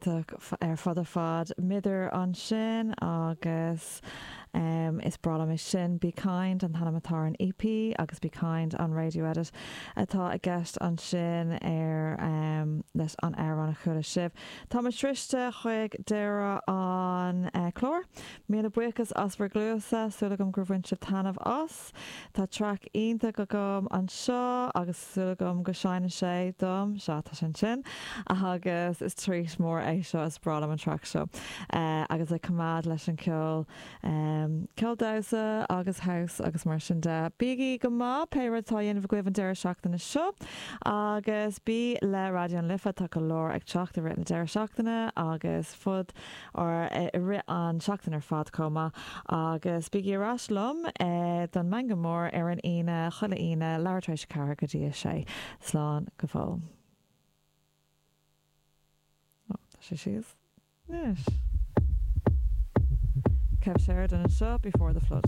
Iontach ar fad ar fad. Mither ansin agus is breá liom é sin. Be Kind an t-ainm atá ar an EP agus Be Kind an radio edit atá i gceist ansin ar leis an amhrán a chuala sibh. Tá muid sroichte chuig deireadh an chláir. Míle buíochas as bhur gcluasa, súil agam gur bhain sibh taitneamh as. Tá traic iontach agam anseo agus súil agam go seinnfidh sé dom, sea tá sé ansin, agus is treat mór é seo, is breá liom an traic seo. Agus ag coimeád leis an ceol, ceol damhsa agus house agus mar sin de. Bígí go maith pé rud atá á dhéanamh agaibh an deireadh seachtaine seo agus bí le Raidió na Life, tá go leor ag teacht i rith na deireadh seachtaine agus fud or i rith an seachtain ar fad chomh maith. Agus bígí ar ais liom don Meangadh Mór ar an Aoine, chuile Aoine, leathuair tar éis a 4 go dtí a 6. Slán go fóill. Ó, tá sé síos anois. Kev Sheridan anseo, Before the Flood.